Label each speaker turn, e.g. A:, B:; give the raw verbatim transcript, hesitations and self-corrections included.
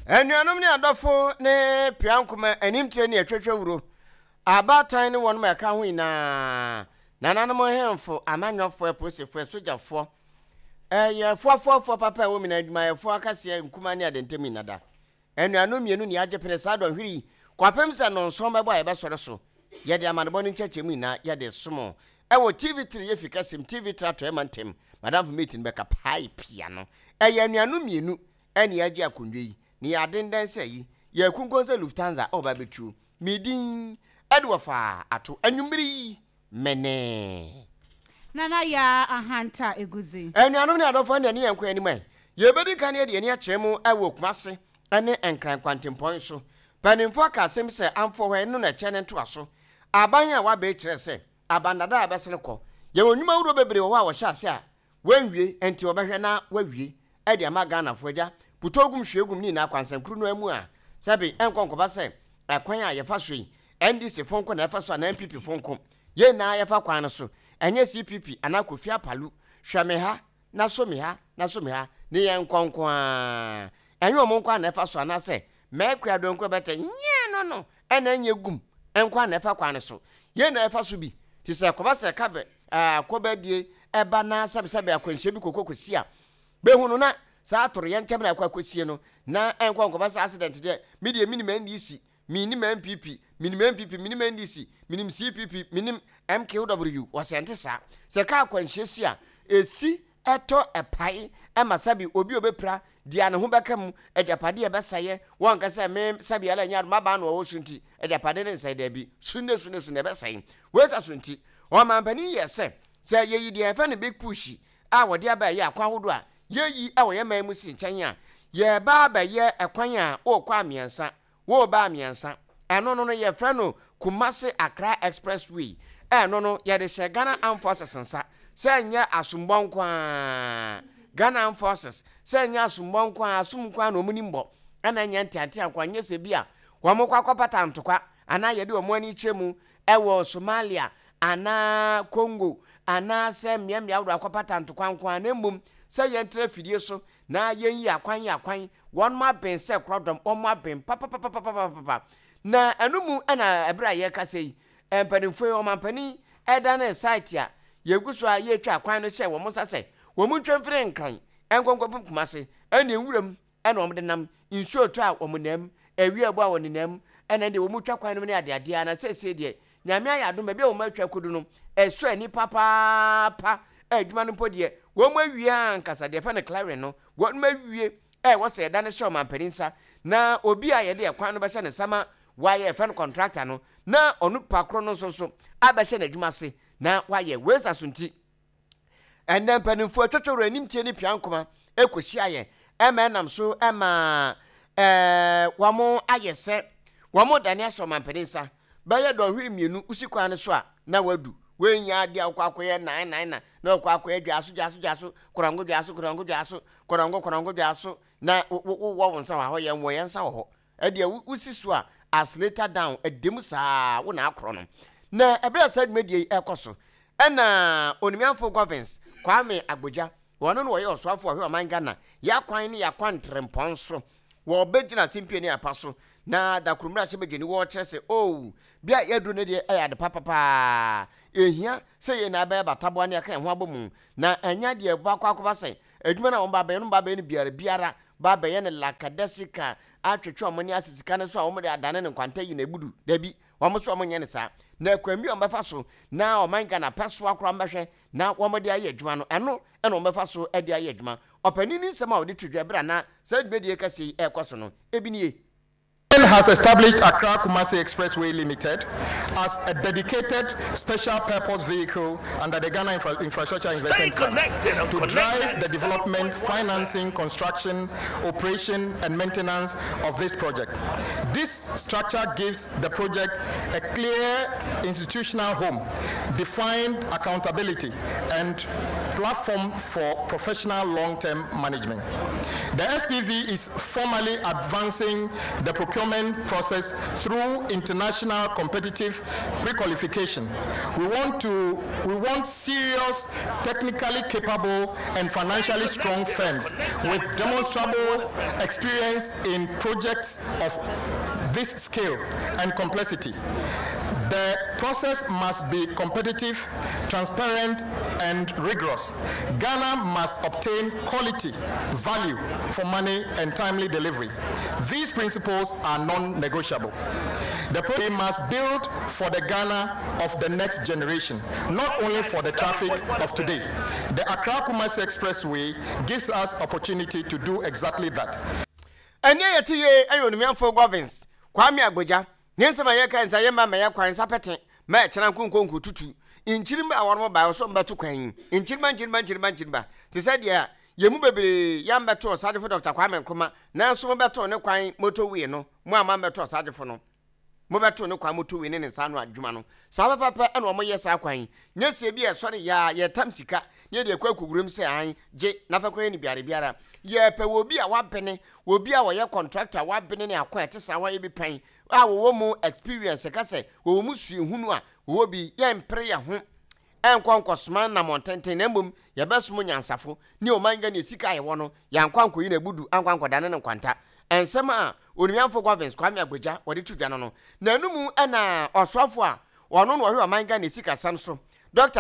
A: Anuanom ne adɔfo ne piankoma animtire ne atwatwa wuro abaatan ne wɔn ma ɛka ho nyinaa, nananom, hemfo, amanyɔfoɔ, apolisifoɔ, asogyafoɔ, ɛyɛ foafoafoɔ papa a ɛwɔ mu na adwumayɛfoɔ akaseɛ nkuma ne adentam nyinada. Anuanom mmienu ne agye pene saa dɔnhwere yi kɔpem sɛ nɔnson bɛbɔ a yɛbɛsɔre so, yɛde amanebɔ no nkyɛkyɛ mu nyinaa yɛde som ɛwɔ T V three yɛfi kɛsɛm T V three atɔ ɛma ntɛm madamfo mate no bɛka pae pia no. Ɛyɛ anuanom mmienu ɛne agye akonnwa yi ne yɛ adendɛn sɛ yi yɛ kunkun sɛ Lufthansa ɔba bɛtuo medin ɛde wɔfa ato anwummere yi mɛnɛ.
B: Nana Yaa Ahanta Egudzi.
A: Anuanom ne adɔfoɔ, ne ne yɛn kɔ anim ɛ yɛbɛdi ka ne yɛde ani akyerɛ mu ɛwɔ Kumase ne Nkran kwantempɔn so. Mpanimfoɔ aka asɛm sɛ amfoɔ hɔ ɛno na ɛkyɛ ne ntoa so. Aban a wabɛɛ kyerɛ sɛ abandada a bɛsene kɔ, yɛwɔ nnwuma wuro bebree wɔ hɔ a wɔhyɛ ase a wɔnwie, nti wɔbɛhwɛ na wɔawie ɛde ama Ghanafoɔ. Agya putɔ gum hwie gum ne nyinaa kwansankuru no mu a sɛbi ɛnkɔ nkɔba sɛ ɛkwan a yɛfa so yi, N D C fo nko na ɛfa so anaa N P P fo nko. Yɛn nyinaa yɛfa kwan no so, ɛnyɛ C P P anaa Kofi Apalu hwɛ me ha na so me ha na so me ha ne yɛn nkɔnko a ɛnyɛ ɔmo nko a na ɛfa so, anaasɛ mɛkua donko bɛtɛ nyɛ no no ɛna ɛnyɛ gum nko a na ɛfa kwan no so. Yɛn na ɛfa so bi te sɛ kɔba sɛ kabɛ ɛɛ akɔbɛdie ɛba na sɛbisɛbi akwanhyia bi koko kɔsi a bɛhu no na saa atoro yɛn nkyɛn na akɔ akɔsie no na ɛnkɔ nkɔba sɛ accident deɛ, mi deɛ minim N D C, minim N P P, minim N P P, minim N D C, minim C P P, minim M K W. Wɔsɛ nte saa sɛ kaa akwanhyia si a esi ɛtɔ ɛpae ɛma sɛbi obi a obɛpira deɛ ne ho bɛka mu, agyapadeɛ ɛbɛsɛeɛ. Wɔn nkasa me sɛbi ala nyɛ adoma baa na ɔwɔ so nti agyapadeɛ ne nsɛe daabi sunne sunne sunne ɛbɛsɛe. Wɔasa so nti ɔmampanin yɛ sɛ sɛ yɛyi deɛ yɛfɛ no Big Push a wɔde aba ɛyɛ akwan ahodoɔ a yɛyi ɛwɔ yɛn man mu si nkyɛn a yɛba abɛyɛ ɛkwan a wɔrekɔ a mmiɛnsa wɔreba a mmiɛnsa. Ɛno no no yɛfrɛ no Kumase Accra Expressway. Ɛno no yɛde hyɛ Ghana Armed Forces nsa sɛ nyɛ asombɔ nko a Ghana Armed Forces sɛ nyɛ asombɔ nko a asom nko a na wɔn nim bɔ, ɛna nyɛ nteantea nko a nyɛ sɛ bi a wɔn kɔ akɔpata ntokwa anaa yɛde wɔn ani kyerɛ mu ɛwɔ Somalia anaa Congo anaasɛ mmeammea ahodoɔ akɔpata ntokwa nko a, na mmom sɛ yɛntena fidie so na yɛnyi akwan yi akwan wɔn mo aben sɛ korɔdɔm, wɔn mo aben papapapapapapa. Na ɛno mu ɛna ɛberɛ a yɛrekasa yi, mpanimfoɔ yi, ɔmampanin ɛda ne site a yɛgu so a yɛretwa akwan no hyɛ wɔn nsa sɛ wɔn ntwa mfiri Nkran nkɔnkɔpem Kumase ɛne nwuram, ɛna wɔn de nam nsuo tɔ a wɔn nam, awia bu a wɔn nenam, ɛna deɛ wɔn twa kwan no mu ne adeadeɛ. Na sɛsɛ deɛ Nyame ayɛ adom, baabi a wɔn atwa kodu no ɛsɔ ani papaapa. Adwuma no mpo deɛ wɔn awie ankasa deɛ fɛ no clearing no wɔn awie. Ɛwɔ sɛ yɛda no hyɛ ɔmampanin nsa na obi a yɛde ɛkwan no bɛhyɛ ne nsa ma wayɛ ɛfɛ no contractor no na ɔno pa korɔ no nso so abɛhyɛ n'adwuma ase na wayɛ. Wei so nti ɛnɛ mpanimfoɔ atwatwa anim tie ne pia nkoma ɛkɔhyia yɛ ɛma ɛnam so ɛma ɛɛ wɔn ayɛ sɛ wɔn dane ahyɛ ɔmampanin nsa bɛyɛ dɔnhwere mmienu wosi kwan no so a na wadu. Wɔnya adeɛ a wokɔ akɔyɛ nan nan na na wɔkɔ akɔyɛ dwaso dwaso dwaso korango dwaso korango dwaso korango korango dwaso na wowɔ wo nsa wɔ hɔ, yɛn wɔ yɛn nsa wɔ hɔ. Ɛdeɛ wosi so a accelerator down ɛdɛm saa wo na akorɔ no. Na ɛberɛ a saa dwumadie yi ɛkɔ so ɛna onimiafo Governs Kwame Agbodza, wɔn no wɔyɛ ɔsoafo ɔhwɛ ɔman Ghana yɛakwan ne yɛakwan ntrempɔn so, wɔbɛgyina asɛmpie ne apa so na dakorommerɛ ahyɛ badwani wɔrekyerɛ sɛ o bia yɛduru no deɛ ɛyɛ ade papapaa ɛhia sɛ yɛn na bɛyɛ bataboa ne aka yɛn ho abɔ mu na ɛnya deɛ baakɔ akɔba sɛ adwuma no a wɔn ba bɛyɛ no ba bɛyɛ no biara biara ba bɛyɛ no lakadasika atwetwe wɔn ne ase sika no so a wɔn de adane ne nkwanta yi na ebudu dabi. Wɔn nso wɔn nyɛ ne saa na kwan bi a wɔn bɛfa so na ɔman Ghana pɛ so akora wɔn bɛhwɛ na wɔn de ayɛ adwuma no, ɛno ɛna wɔn bɛfa so de ayɛ adwuma. Ɔpanin ne nsɛm a wɔde to dwa ɛberɛ a na saa dwumadie kɛseɛ yi ɛrekɔ so no ebi nie.
C: Has established Accra Kumasi Expressway Limited as a dedicated special purpose vehicle under the Ghana Infra- Infrastructure
D: Stay
C: Investment Fund
D: connected on
C: to
D: Connect
C: drive the development,
D: ninety-seven point one
C: financing, construction, operation, and maintenance of this project. This structure gives the project a clear institutional home, defined accountability, and platform for professional long-term management. The S P V is formally advancing the procurement process through international competitive pre-qualification. We want to we want serious, technically capable and financially strong firms with demonstrable experience in projects of this scale and complexity. The process must be competitive, transparent, and rigorous. Ghana must obtain quality, value for money, and timely delivery. These principles are non negotiable. The project must build for the Ghana of the next generation, not only for the traffic of today. The Accra Kumasi Expressway gives us opportunity to do exactly that.
A: Ɛne yɛte yie ɛyɛ Onimiamfo Governs Kwame Agbodza ne nsɛm a yɛka nsa yɛma ma yɛ kwan nsa pɛte ma ɛkyena nkonkonko tutu nkyirima a wɔn ba so mbɛto kwan yi, nkyirima, nkyirima, nkyirima, nkyirima te sɛ deɛ yɛn mu bebree yɛmbɛto Ɔsagyefo Doctor Kwame Nkrumah, nanso mobɛto ne kwan motorway no. Mo a mambɛto Ɔsagyefo no, mobɛto ne kwan motorway ne ne nsa ano adwuma no saa pɛpɛpɛ. Ɛna wɔn yɛ saa kwan yi nyɛ sie bi a ɛsɔre yaa yɛtam sika ne yɛde akɔ akɔwuram sɛ an gye nafa kwan ne biara biara. Yɛpɛ wɔ bi a wabene, wɔ bi a wɔyɛ contractor wabene ne akwan ɛte saa, wɔayɛ bi pɛn a wɔwɔ mu experience, ka sɛ wɔwɔ mu suahunu a wɔwɔ bi. Yɛmpere yɛn ho ɛnkɔ nkɔsoma namɔntenten, na mmom yɛbɛsom nyansafo ne ɔman Ghana sika a yɛwɔ no. Yɛankɔ ankɔyi no abudu ankɔ ankɔdane ne nkwanta. Ɛnsɛm a Onimiamfo Governs Kwame Agbodza wɔde to dwa no no n'anumu, ɛna ɔsoafo a ɔno na ɔhwɛ ɔman Ghana sikasɛm so, Doctor